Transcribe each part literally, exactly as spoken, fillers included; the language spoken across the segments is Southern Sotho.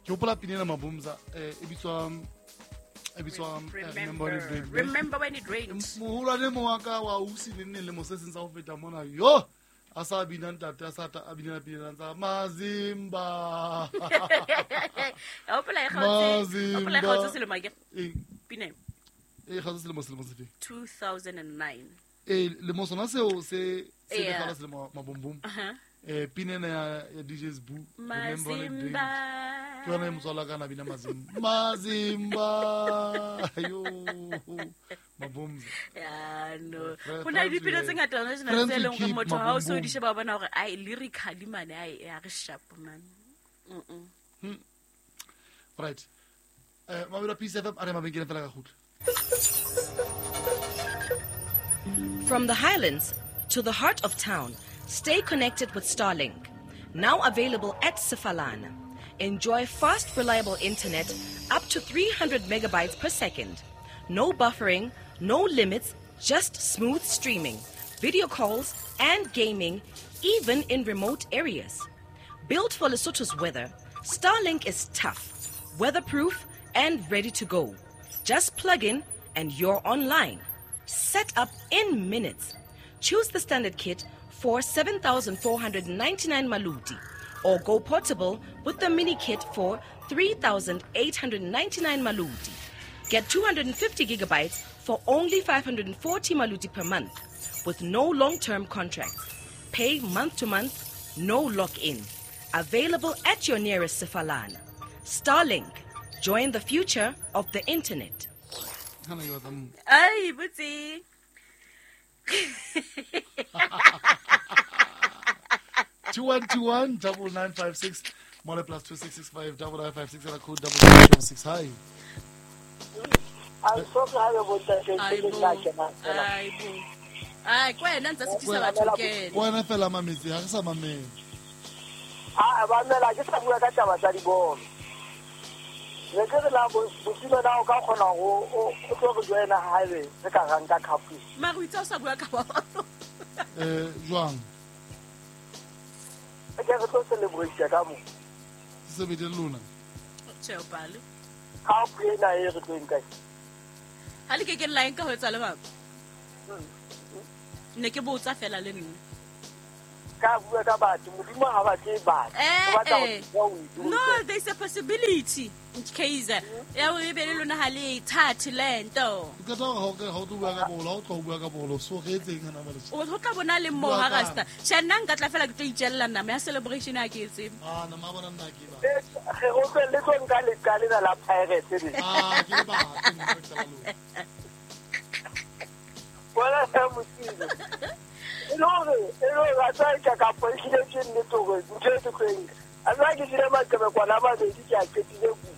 Ke hopola pina ena Mabumza eh e bitswa e bitswa Remember When It Rained. Remember When It Rained. Moholwane mo wa ka wa ausi le nne le mo se seng sa ho feta mona. Yo a sa bina ntate a sa a bina pina tsa Mazimba. Hopola e kgaotse. Hopola e kgaotse selemo ke. Pina. E kgaotse selemo selemo sefe? two thousand nine. Eh le mo sona seo se se le kgala selemo mabombom. Eh pina ena ya D J's Boo Remember When It Rained. Ke yona e motswala ka na bina Mazimba. Mazimba. Yo. Mabumza. Ya no. Ho na le dipina tse ngata hona jena tse leng hore motho ha o so di sheba bona hore ai lyrically mane ai ya re sharp man. Mm. Right. Eh Mabelo Peace F M a re mabenkele fela ka kgutla. From the highlands to the heart of town, stay connected with Starlink. Now available at Sefalana. Enjoy fast, reliable internet up to three hundred megabytes per second. No buffering, no limits, just smooth streaming, video calls, and gaming, even in remote areas. Built for Lesotho's weather, Starlink is tough, weatherproof, and ready to go. Just plug in and you're online. Set up in minutes. Choose the standard kit for seven thousand four hundred ninety-nine maluti, or go portable with the mini kit for three thousand eight hundred ninety-nine maluti. Get two hundred fifty gigabytes for only five hundred forty maluti per month, with no long-term contracts. Pay month to month, no lock-in. Available at your nearest Sefalana. Starlink. Join the future of the internet. Ay, butsi. two one two one double nine five six Mole plus two six six five double nine five six and a code double six six. Hi. I'm so glad about that. Ai bo. Ai kwena ntse sitisa batho ke. Kwena fela mametsi ha re sa mamela. Ah ba mela ke sa bua ka taba tsa dibolo. Ne ke re la bosilo na o ka kgona go o tlo go joina highway re ka ranka cup. Mara o itse o sa bua ka bolo. Eh jwang? Ke re tlo celebrate ka mo. Se bede lona. Tjhe o pale. Cup ena e re tlo nka. Ha le ke ke line ka ho etsa le baba. Ne ke botsa fela le nna. Ka bua ka batho modimo ha ba tle batho. No, there's a possibility. Kaiser. Ya o be le lona ha le thathe lento. Ke tla ho ke ha o bua ka bolo, ha o tlo bua ka bolo, so re etseng hana ba le. O tlo bona le mo ha rasta. Tjhe nna nka tla fela ke tlo itjella nama ya celebration a ke etse. Ah, nama bona nna ke ba. Re o tlo le tlo nka le qale la Pirates re. Ah, ke ba ke nka tla lona. Wala sa motimo. No, no, ra tsa ka ka poishile ke nnete hore ntho e ke eng. A tsa ke dira maqebe kwana ba bedi ke a qetile ku.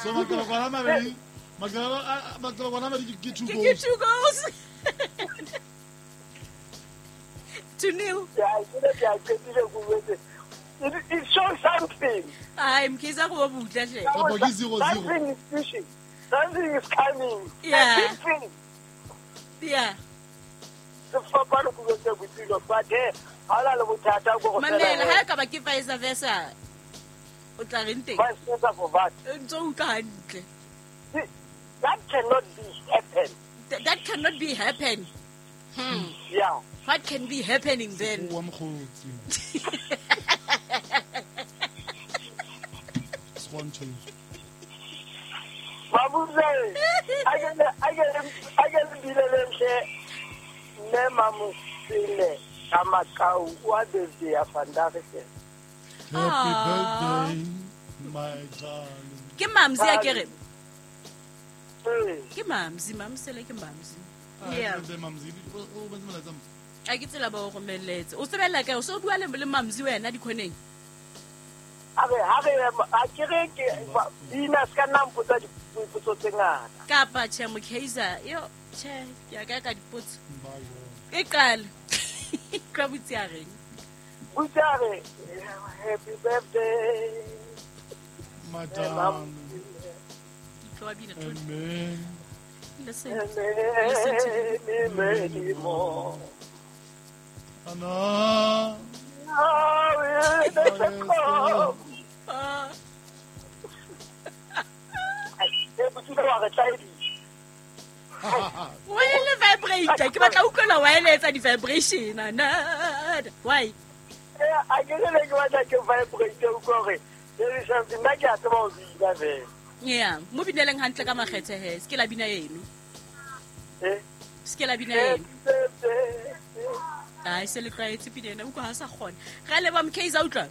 So maqebe kwana mabedi, maqebe maqebe kwana mabedi ke two goals. Ke two goals. Two nil. Yeah, ke a qetile ku wetse. It, it shows something. Ai, mkhiza go butla hle. Kapo ke zero zero. Something is fishing. Something is coming. Yeah. Something. Yeah. Sefapano go tse botilo but he ha la le bothata go go mamela ha ka ba ke vice versa o tla re nteng vice versa for what ntse o utlwa hantle. That cannot be happen. Th- that cannot be happen. Hmm. Yeah. What can be happening then? Wa mkhotsi. Swanto. Mabuze a ke a ke a ke bile le ntle ne mamusile ka makau wa birthday ya Fandage. Happy birthday my darling. Ke mamzi a ke re. Ke mamzi, mamsele ke mamzi. Yeah. Happy birthday mamzi. O bentse molaetsa. A ke tsela ba o romelletse. O tsebella kae? O so bua le le mamzi wena dikhoneng. A re ha re a ke re ke dina ska nna mpotsa dipotso tse ngata. Kapa tjhe Mokeiza, yo tjhe ke ya ka ka dipotso. E qale. Ka botsi a reng? Botsi a re happy birthday my darling. Tlo bina tlo. Amen. Listen. Listen to me many more. Ana. I will Why le vibrate ke batla utlwela why le etsa di vibration na why eh a ke le ke batla ke vibrate o gore there is something that ke a tseba o bina fela yeah mo bineleng hantle ka makgethe he se ke la bina eno eh se ke la bina eno ai se le tlwaetse pina ena utlwa ha sa kgona ga le ba mkaiza utlwa.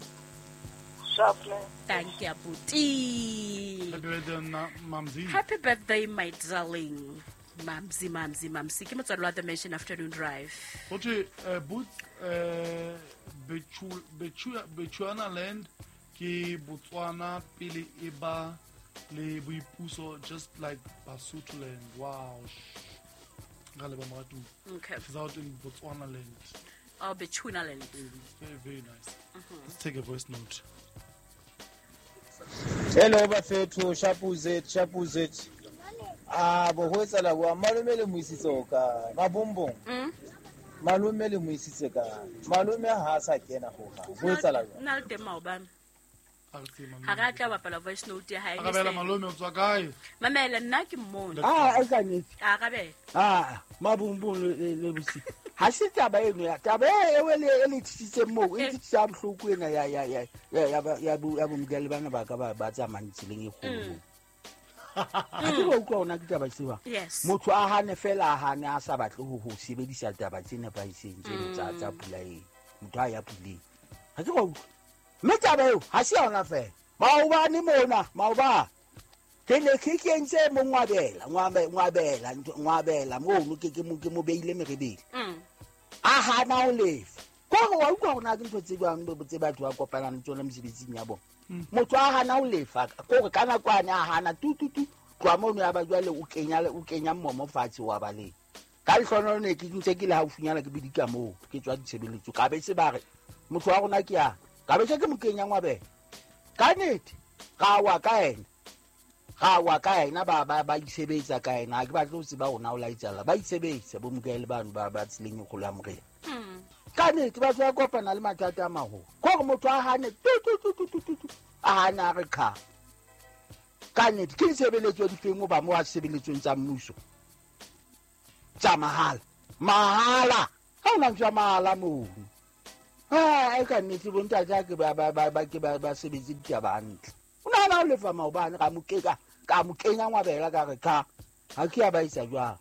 Thank you, Abuti. Happy birthday, Mamzi. Happy birthday, my darling. Mamzi, Mamzi, Mamzi. Ke motswalo wa The Mansion Afternoon Drive. Hothi eh Boots eh Bechu Bechu Bechuanaland ke Botswana pele e ba le boipuso just like Basutoland. Wow. Ga le ba moratu. Okay. She's out in Botswanaland. Oh, Bechuanaland. Very, very nice. Mm-hmm. Let's take a voice note. Hello bafethu shapuzet shapuzet ah bo ho etsala bua malome le moisitse o ka mabombong mm malome le moisitse ka malome ha sa kena ho ga ho etsala nna le teng maobane ha ra tla bapala voice note ya hae arabela malome o tswa kae mamela nna ke mmone ah e ka nnete arabela ah mabombong le bosi ha se taba eno ya taba e le le tsitsitse mo e tsitsa bohloko ena ya ya ya ya ya ya bomgale bana ba ka ba ba tsamayang tseleng e kgolo ha ke utlwa ona ke taba tseo motho a hane fela a hane a sa batle ho ho sebedisa taba tse nepahetseng tse tsa tsa pula eng motho a ya puleng ha ke utlwa mme taba eo ha se yona fela maobane mona maoba ke ne ke kentse mo ngwabela ngwabela ngwabela mono ke ke mo ke mo beile merebele a hana ho lefa kore wa utlwa hore na ke ntho tse jwang tse batho ba kopanang le tsona mesebetsing ya bona motho a hana ho lefa kore ka nako ane a hana tu tu tu tloha mono ya ba jwale o kenya o kenya mmomo fatshe wa baleng ka lehlono ne ke ntse ke le haufinyana ke bidika moo ke tswa ditshebeletso ka be se ba re motho wa rona ke ya ka be se ke mo kenya ngwabela ka nnete ra wa ka ena ga wa ka ena ba ba ba isebetsa ka ena ha ke batle ho tseba rona o laetsala ba isebetsa bo mokele bano ba ba tseleng e kgolo ya morena ka nnete batho ba kopana le mathata a maholo kore motho a hane tu tu tu tu tu a hana re kha ka nnete ke ditshebeletso di feng o ba mo a sebeletsong tsa mmuso tsa mahala mahala ha ona ntho ya mahala moo ha e ka nnete bontate ke ba ba ba ke ba ba sebetse ditaba hantle o nahana o lefa maobane ka mo keka ka mo kenya ngwabela ka re kha ha ke ya ba isa jwang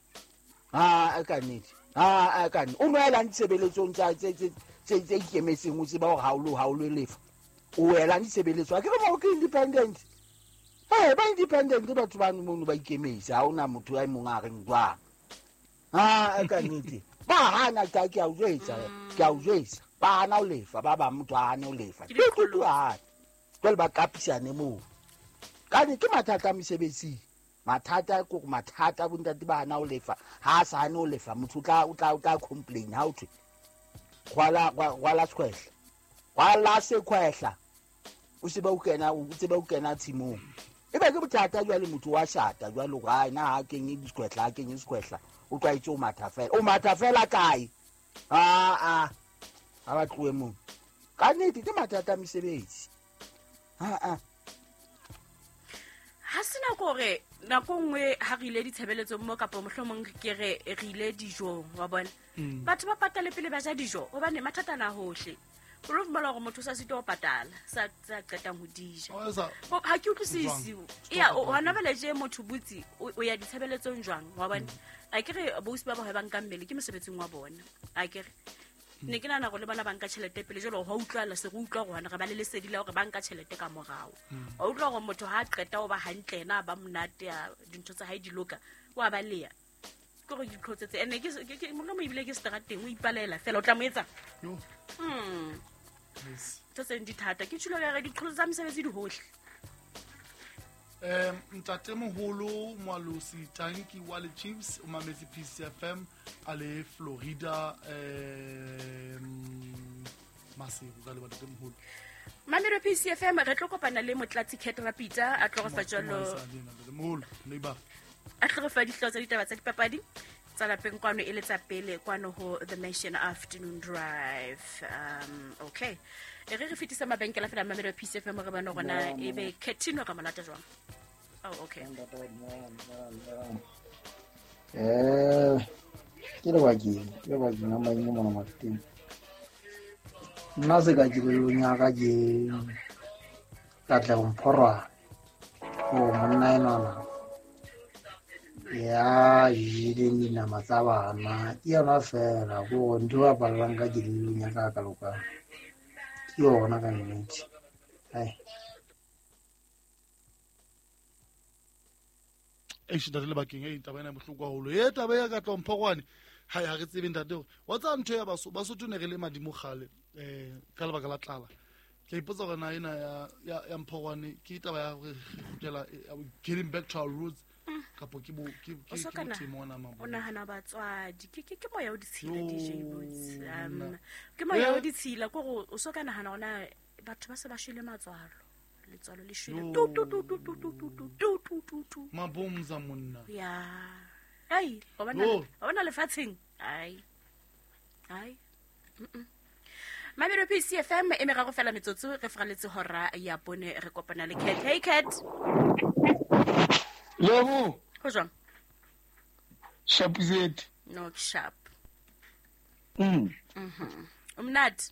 ha e ka nnete ha e ka nnete o nwelang ditshebeletsong tsa tse tse tse ikemetseng o tseba hore ha o lo ha o lo lefa o welang ditshebeletso ha ke re mo ke independent eh ba independent batho ba mono ba ikemetse ha ona motho a mong a reng jwang ha e ka nnete ba hana ka ke a o jwetsa ke a o jwetsa ba hana o lefa ba ba motho a hane o lefa ke hana jwale ba kapisane moo ka ne ke mathata a mesebetsing mathata ko mathata bontate ba hana o lefa ha sa hane o lefa motho o tla o tla o tla complain ha o thwe rwala rwala sekhwehla rwala sekhwehla o se ba o kena o tseba o kena tshimong e be ke bothata jwale motho wa shata jwale hore ha ena ha kenye disekhwehla ha kenye sekhwehla o tlwaetse o matha fela o matha fela kae a a ha ba tlohe moo ka nnete ke mathata a mesebetsi ha a ha sena gore nako nngwe ha re ile ditshebeletsong mo kapa mohlomong ke re re ile dijong wa bona batho ba patale pele ba ja dijo hobane mathata na hohle o lo fumana hore motho sa sitwa ho patala sa sa qetang ho dija ha ke utlwisisi ya hona bale je motho butsi o ya ditshebeletsong jwang wa bona a ke re bosi ba ba ba nka mmele ke mosebetsing wa bona a ke re ne ke nahana gore le bona ba nka tjhelete pele jwale ho utlwala se re utlwa gore hona re ba le lesedi la hore ba nka tjhelete ka morao wa utlwa hore motho ha qeta o ba hantle ena ba monate ya dintho tsa hae di loka wa ba leya ke gore diqhotsetse ene ke ke molomo ebile ke strateng o ipalela fela o tla mo etsa mm ntho tse di thata ke tshilo ya re diqholotso tsa mesebetsi di hohle. Um ntate moholo Moalosi Tanki wa le Chiefs o mametse P C F M a le Florida um Maseru ka le ntate moholo Mamelo P C F M re tlo kopana le Motlatsi Cat Rapita a tlo re fa jalo neighbor a tlo re fa dihlooho tsa ditaba tsa dipapadi tsa lapeng kwano e le tsa pele kwano ho The Nation Afternoon Drive. Um okay E re re fetisa mabenkele fela Mamelodi P C F M re bana rona e be Ketino ka molata jwang. Oh okay. Eh ke le bakeng ke le bakeng a manye mona mateng. Nna se ka kelellong ya ka ke Katlego Mphorwane o monna enwana ya jeleng dinama tsa bana ke yona fela ko ntho ba ballang ka kelellong ya ka ka loka ke yona ka nnete. Ai eish ntate le bakeng e taba ena bohloko haholo e taba ya Katlego Mphorwane ha ha re tsebe ntate hore wa tsa ntho ya baso Basotho ne re le madimo kgale eh ka lebaka la tlala. Ke ipotsa hore na ena ya ya ya Mphorwane ke taba ya hore re kgutlela getting back to our roots kapo ke bo ke ke ke mona mabo. O nahana batswadi ke ke ke moya o ditshila D J Boots um ke moya o ditshila ko go o so ka nahana hona batho ba se ba shwele matswalo letswalo le shwele tu tu tu tu tu tu tu tu tu tu tu mabomza monna ya ai o bona o bona lefatsheng ai ai mm Mamelodi P C F M e merago fela metsotso re fraletse hora ya bone re kopana le Cat. Hey Cat. Lebo. Ho jwang? Sharp is it? No, sharp. Mm. Mhm. O monate?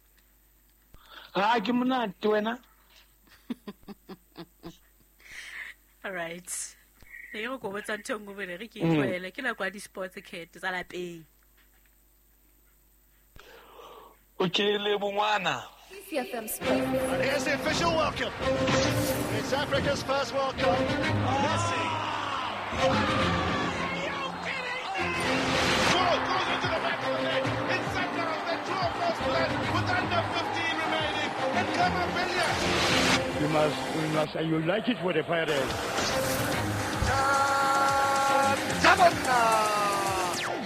Ha ke monate wena. All right. Ne re go botsa ntho nngwe bone re ke itlwaele ke nako ya di-sports Cat tsa lapeng. Okay, Lebo ngwana. P C F M Sports. And here's the official welcome. It's Africa's first World Cup. Messi. Goal goes into the back of the net. It's Sundowns that draw first blood with under fifteen remaining. And Kamavilia. You must, we must, and you like it with the fire is. Tabana.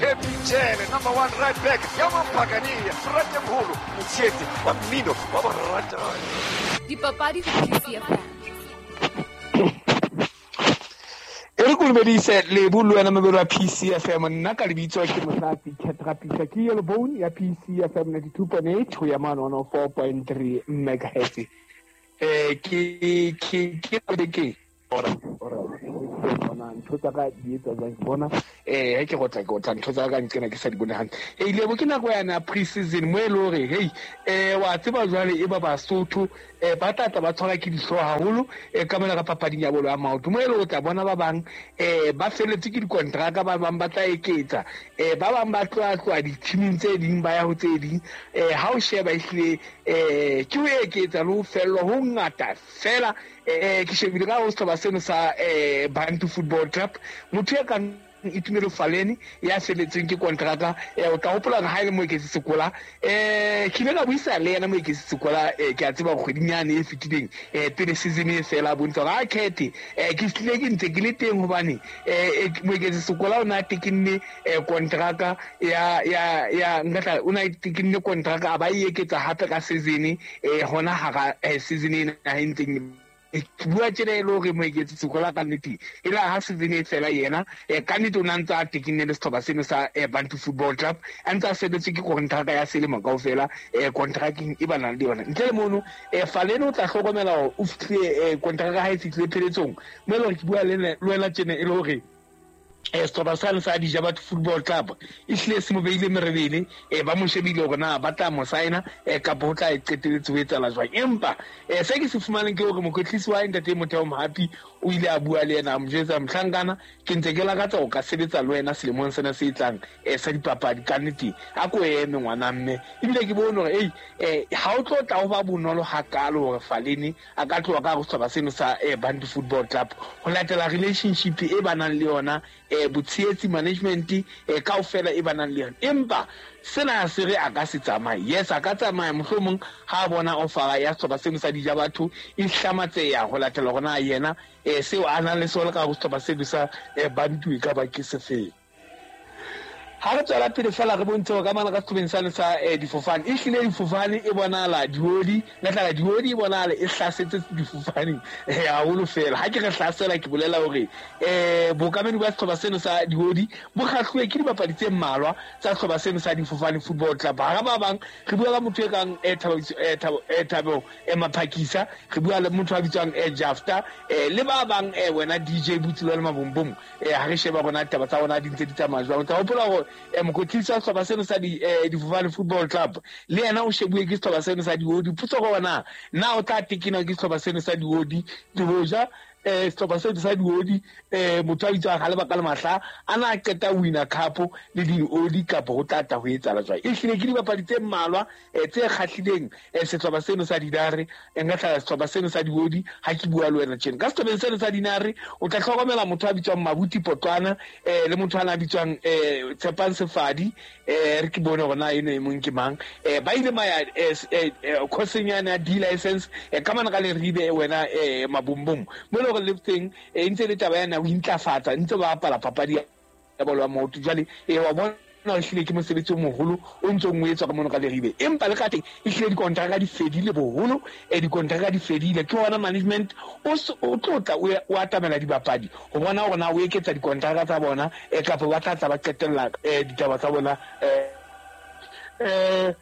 Happy Jele, number one right back. Yaman Pagani, Frate Mholo, Motshete, wa mmino, wa baratani. Dipapadi ho P C F M. E re kulumedise Lebo le wena mobelo wa P C F M nna ka lebitso ke Mosati Catrapisa ke Yellow Bone ya P C F M ninety-two point eight ho ya mane one oh four point three megahertz. Eh ke ke ke ke ora ora bona ntho tsa ka di etsa jwang ke bona eh ha ke go tla ke o tla ntho tsa ka ntsena ke sa di bone hantle e ile bo ke nako yana pre-season mo e le hore hey eh wa tseba jwale e ba Basotho eh ba tla ba tshwara ke dihloho haholo eh ka mona ka papading ya bolo ya maoto mo e le o tla bona ba bang eh ba feletse ke dikontraka ba bang ba tla eketsa eh ba bang ba tloa tloa di-teaming tse ding ba ya ho tse ding eh ha o sheba ehlile eh ke ho eketsa le ho fellwa ho ngata fela eh ke shebile ka ho sehlopha seno sa eh Bantu Football Club motho ya kang Itumelo Faleni ya feletseng ke kontraka eh o tla hopola ha ile Moeketsi Sekola eh ke ile ka buisa le yena Moeketsi Sekola eh ke a tseba kgweding yane e fetileng eh pele season e fela bontsha ga khethe eh ke tlile ke ntse ke le teng hobane eh Moeketsi Sekola o na tekinne eh kontraka ya ya ya ngatla o na tekinne kontraka a ba e eketsa hape ka season eh hona hara season ena ha ntseng ke bua tjena e le hore Moeketsi Sekola ka nnete e la ha season e fela yena ka nnete o na ntse a tekinne le setlhopha seno sa Bantu Football Club a ntse a sebetse ke kontraka ya selemo kaofela kontrakeng e ba nang le yona ntle le mono Faleni o tla hlokomela hore o fihlile kontraka ha e fihlile pheletsong mo e le hore ke bua le wena tjena e le hore eh setlhopha sane sa Dijabatho Football Club e hlile se mo beile merebele eh ba mo shebile hore na ba tla mo signa eh kapa ho tla e qetelletse ho etsahala jwang empa eh se ke se fumaneng ke hore mokwetlisi wa ntate Motheo Mohapi o ile a bua le yena a mo jwetsa mohlankana ke ntse ke lakatsa ho ka sebetsa le wena selemong sena se tlang eh sa dipapadi ka nnete a ko eme ngwana mme ebile ke bone hore ei eh ha o tlo tla ho ba bonolo hakalo hore Faleni a ka tloha ka ho sehlopha seno sa Bantu Football Club ho latela relationship e ba nang le yona eh botshehetsi management eh kaofela e ba nang le yona empa sena se re a ka se tsamaye yes a ka tsamaya mohlomong ha bona offer ya sehlopha seno sa Dijabatho e hlamatseya ho latela hore na yena eh seo a nang le sona ka ho sehlopha seno sa Bantu e ka ba ke se feng. Ha re tswela pele fela re bontshe hore ka mane ka sehlobeng sane sa difofane e hlile difofane e bonahala diodi nka diodi e bonahala e hlasetse difofane haholo fela. Ha ke re hlasela ke bolela hore eh bokamedi ba sehlopha seno sa diodi bo kgahluwe ke dibapadi tse mmalwa tsa sehlopha seno sa difofane football club. Hara ba bang re bua ka motho e kang Thabo Thabo Maphakisa, re bua le motho a bitswang Jafta le ba bang wena D J Butsi le Mabombom. Ha re sheba rona taba tsa rona di ntse di tsamaya jwang. Tsa hopola hore mokwetlisi wa sehlopha seno sa di difofane football club le yena o shebuwe ke sehlopha seno sa diodi. Potso go wena na o tla tekena ke sehlopha seno sa diodi le hoja eh sehlopha seno sa diodi eh motho a bitswang ha le baka le mahla a na qeta wina cup le diodi kapa ho tla tla ho etsahala jwang. E hlile ke dibapadi tse mmalwa tse kgahlileng sehlopha seno sa dinare nka tla sehlopha seno sa diodi ha ke bua le wena tjena. Ka sehlopheng seno sa dinare o tla hlokomela motho a bitswang Mabuti Potwana eh le motho a bitswang eh Tshepang Sefadi eh re ke bone hore na eno e mong ke mang eh ba ile maya course nyana ya D license ka mana ka le ribe wena eh Mabombom mo le le teng e ntse le taba yana o intlafatsa ntse ba apala papadi ya bolo ya maoto. Jwale e wa bona o hlile ke mosebetsi o moholo o ntse o etswa ka mono ka Leribe, empa le ka teng e hlile dikontraka di fedile boholo e dikontraka di fedile. Ke hona management o o tlotla o atamela dibapadi ho bona hore na o eketsa dikontraka tsa bona e kapa ba tla tla ba qetella ditaba tsa bona eh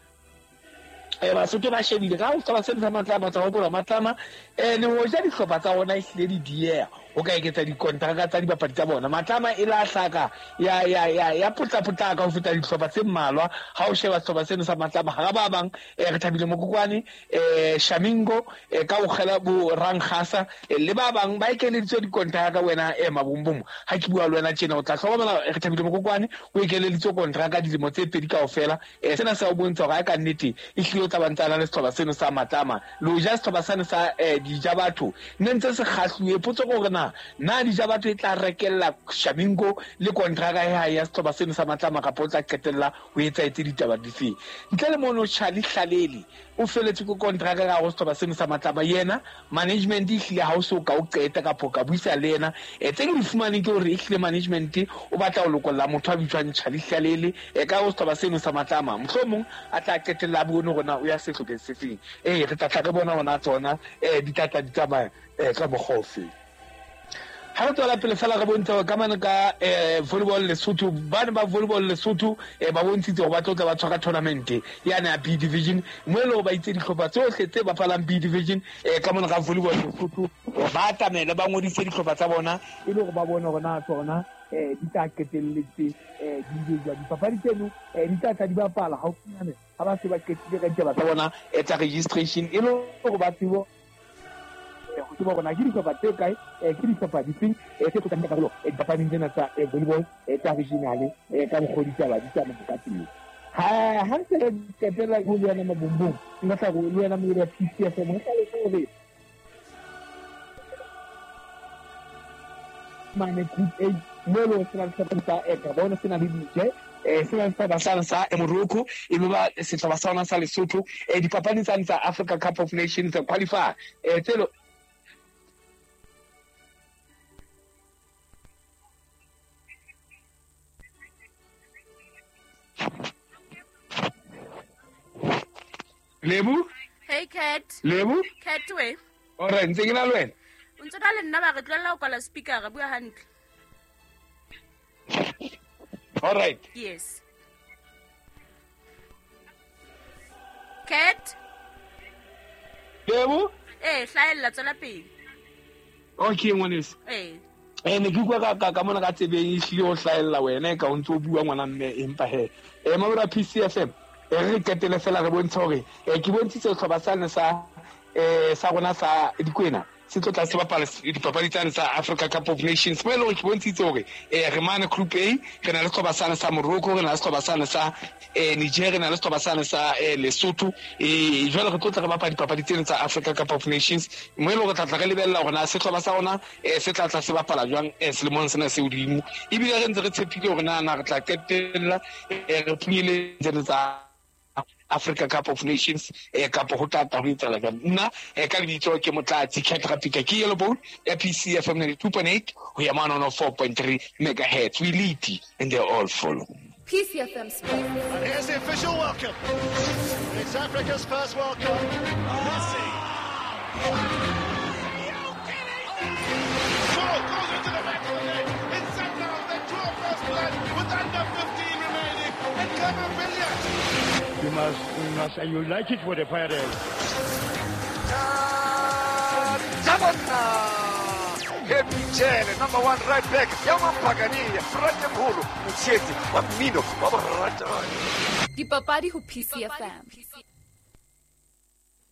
eh Basotho ba shebile ka ho sehlopha seno sa Matlama tsa hopola Matlama eh le hoja dihlopha tsa bona e hlile di dieha o ka eketsa dikontraka tsa dibapadi tsa bona. Matlama e la hlaka ya ya ya ya potla-potlaka ho feta dihlopha tse mmalwa. Ha o sheba sehlopha seno sa Matlama hara ba bang re Thabile Mokokwane eh Shamingo ka o kgela bo Rankhasa le ba bang ba ekeleditswe dikontraka wena e Mabombom. Ha ke bua le wena tjena o tla hlokomela re Thabile Mokokwane o ekeleditswe kontraka dilemo tse pedi kaofela. Sena se o bontsha hore ka nnete e hlile tla bantsana le sehlopha seno sa Matlama le hoja sehlopha seno sa Dijabatho ne ntse se kgahluwe. Potso ke hore na na Dijabatho e tla rekella Shamingo le kontraka ya ya sehlopha seno sa Matlama kapa o tla qetella ho etsa etse ditaba difeng. Ntle le mono Charlie Hlalele o feletse ke kontraka ka ho sehlopha seno sa Matlama, yena management e hlile ha o so ka o qeta kapa ka buisa le yena. E tse ke di fumaneng ke hore e hlile management o batla ho lokolla motho a bitswang Charlie Hlalele e ka ho sehlopha seno sa Matlama, mohlomong a tla qetella bone hore na o ya sehlopheng se feng. Eh re tla tla re bona hona tsona eh di tla tla di tsamaya eh ka mokgwa ofe. Ha re tswela pele fela re bontsha hore ka mane ka eh volleyball Lesotho bana ba volleyball Lesotho eh ba bontshitse hore ba tlo tla ba tshwara tournament yana ya B division mo le ba itse dihlopha tsohle tse bapalang B division eh ka mane ka volleyball Lesotho ba atamele ba ngodise dihlopha tsa bona e le hore ba bone hore na tsona eh di tla qetelletse eh di ile jwa dipapadi tseno eh di tla tla di bapala haufinyane ha ba se ba qetile ka ditaba tsa bona eh tsa registration e le hore ba tsebo ho tseba hore na ke dihlopha tse kae ke dihlopha difeng tse tlo tla karolo dipapading tsena tsa volleyball tsa regional ka mokgwa ditaba di tsamaya ka teng. Ha ha ntse re qetella ho le wena Mabombom nka tla go le wena mo ya P C F M nka le hore mane group A mo lo se na le sehlopha sa Gabon se na le D J eh se na le sehlopha sa sa Morocco e be ba sehlopha sa rona sa Lesotho eh dipapading tsane tsa Africa Cup of Nations qualifier eh tselo Lebu? Hey Cat. Lebu? Cat we. Ore ntse ke na le wena. O ntse na le nna ba re tlohella ho kwala speaker re bua hantle. All right. Yes. Cat. Lebu? Eh, hlahella tswela pele. Okay ngwaneso. Eh. Eh ne ke utlwa ka ka ka mona ka tsebeng e hlile o hlahella wena e ka o ntse o bua ngwana mme empa he. Eh mabura P C F M re qetele fela re bontsha hore ke bontshitse sehlopha sane sa eh sa rona sa Dikwena se tlo tla se bapala dipapadi tsane tsa Africa Cup of Nations mo e leng hore ke bontshitse hore eh re mane group A re na le sehlopha sane sa Morocco, re na le sehlopha sane sa eh Niger, re na le sehlopha sane sa Lesotho. Eh jwale re tlo tla re bapala dipapadi tsena tsa Africa Cup of Nations mo e leng hore tla tla re lebella hore na sehlopha sa rona eh se tla tla se bapala jwang eh selemong sena se hodimo, ebile re ntse re tshepile hore na na re tla qetella re phunyele tsena tsa Africa Cup of Nations eh kapo ho tla tla ho etsahala jwang. Nna eh ka lebitso ke Motlatsi Cat Rapika ke Yellow Bone ya P C F M ninety-two point eight ho ya mane four point three megahertz. We lead and they all follow. P C F M Sports. And here's the official welcome. It's Africa's first World Cup. Messi. Ball goes into the back of the net. It's Sundowns that draw first blood with under fifteen remaining. And Khama Billiat. You must, you must, and you like it with the Pirates. Happy Jele, number one right back. Yama Pagani, Frate Mholo, Motshetsi, wa mmino wa boratani. Dipapadi ho P C F M.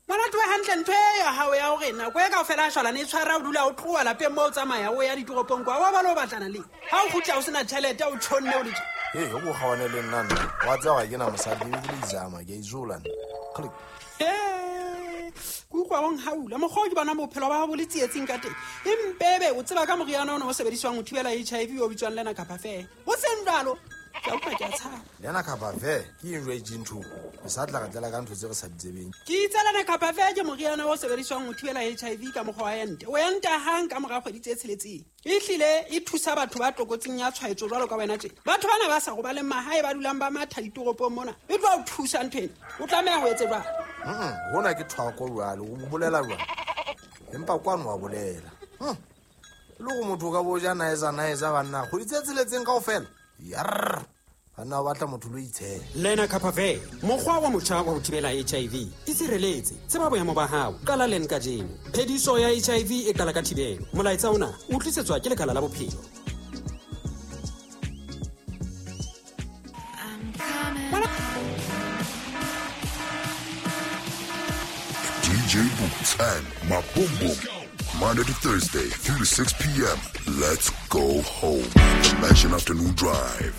Ngwana twe hantle ntho e ya hao ya hore nako e kaofela a shwalane e tshwara o dula o tloha lapeng moo o tsamaya o ya ditoropong kwa wa ba lo batlana le ha o kgutla o sena tjhelete o tjhonne o le tje. Hey, o kgawane le nna nna. Wa tseba ga ke na mosadi ebile izama ke a izola nna. Click. Ke utlwa o nhaula mokgwa o ke bona bophelo ba hao bo le tsietsing ka teng. Empebe o tseba ka moriana ona o sebediswang ho thibela H I V o bitswang Lenacapavir. O seng jwalo. Ke a utlwa ke a tshaba. Lenacapavir ke eng jwale ntho? Re sa tla re tlela ka ntho tse re sa di tsebeng. Ke itse Lenacapavir ke moriana o sebediswang ho thibela H I V ka mokgwa wa ente. O enta hang ka mora kgwedi tse tsheletseng. Ehlile e thusa batho ba tlokotsing ya tshwaetso jwalo ka wena tje. Batho bana ba sa robaleng mahae ba dulang ba matha ditoropong mona. E tlo o thusa ntho ena. O tlameha ho etse jwang? Mm, hona ke thwako jwale, o bolela jwang? Empa kwano wa bolela. Hm. Le go motho ka bo ja naeza naeza banna, kgwedi tse tsheletseng kaofela. Yarr. Banna ba batla motho lo itshela. Lenacapavir, mokgwa wa motjha wa ho thibela H I V. Itshireletse, tseba boemo ba hao. Qala len kajeno. Phediso ya H I V e qala ka thibelo. Molaetsa ona o tlisetswa ke Lekala la Bophelo. D J Boots and Maboom. Monday to Thursday, three to six p.m. Let's go home. The Mansion Afternoon Drive.